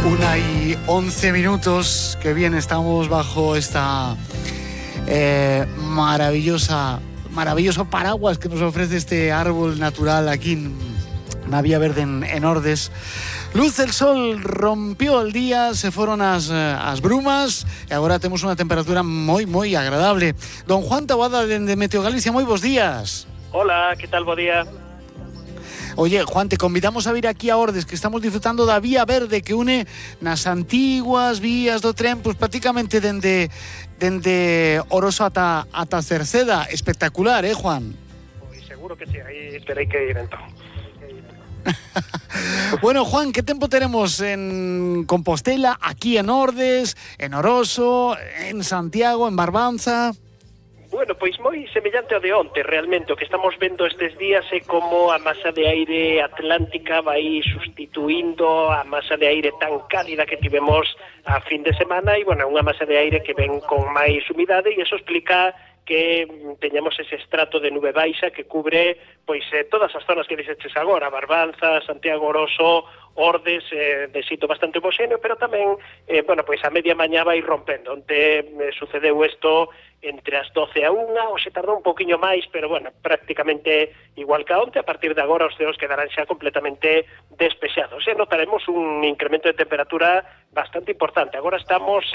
1:11. Qué bien, estamos bajo esta maravilloso paraguas que nos ofrece este árbol natural aquí en la Vía Verde en Ordes. Luz del sol, rompió el día, se fueron as brumas e agora temos unha temperatura moi agradable. Don Juan Taboada de Meteo Galicia, moi bons días. Hola, que tal, bo día? Oye, Juan, te convidamos a vir aquí a Ordes, que estamos disfrutando da Vía Verde que une nas antiguas vías do tren, pues prácticamente dende Oroso ata Cerceda. Espectacular, Juan? Pois seguro que sí, aí terei que ir entón. Bueno, Juan, ¿qué tiempo tenemos en Compostela, aquí en Ordes, en Oroso, en Santiago, en Barbanza? Bueno, pois moi semellante ao de onte, realmente. O que estamos vendo estes días é como a masa de aire atlántica vai sustituindo a masa de aire tan cálida que tivemos a fin de semana e, bueno, unha masa de aire que ven con máis humidade e iso explica que teñamos ese estrato de nube baixa que cubre pois todas as zonas que dixeches agora, Barbanza, Santiago, Oroso, Ordes, de sitio bastante homogéneo, pero tamén, bueno, pois a media mañá vai rompendo. Onte sucedeu isto entre as 12 a 1, hoxe tardou un poquinho máis, pero, bueno, prácticamente igual que a onte. A partir de agora os ceos quedarán xa completamente despexados. Notaremos un incremento de temperatura bastante importante. Agora estamos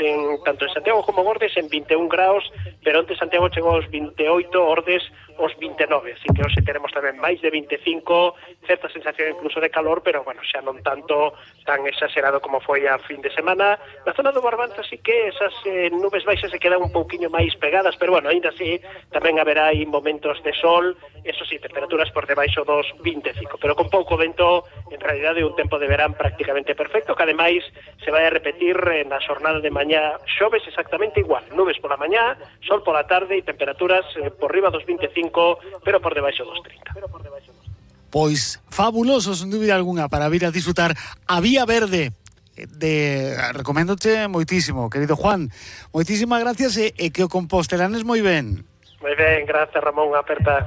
tanto en Santiago como Ordes en 21 graus, pero onte Santiago chegou aos 28, Ordes aos 29, así que hoxe teremos tamén máis de 25, certa sensación incluso de calor, pero, bueno, xa non tanto tan exagerado como foi a fin de semana. Na zona do Barbanza sí que esas nubes baixas se quedan un pouquiño máis pegadas, pero, bueno, ainda así tamén haberá aí momentos de sol, eso sí, temperaturas por debaixo dos 25, pero con pouco vento. En realidade un tempo de verán prácticamente perfecto, que ademais se vai a repetir na xornada de mañá. Xoves exactamente igual, nubes pola mañá, sol pola tarde e temperaturas por riba dos 25, pero por debaixo dos 30. Pois fabuloso, sen dúbida algunha, para vir a disfrutar a Vía Verde. Recoméndote moitísimo, querido Juan. Moitísimas gracias e que o compostelanes moi ben. Moi ben, gracias, Ramón, aperta.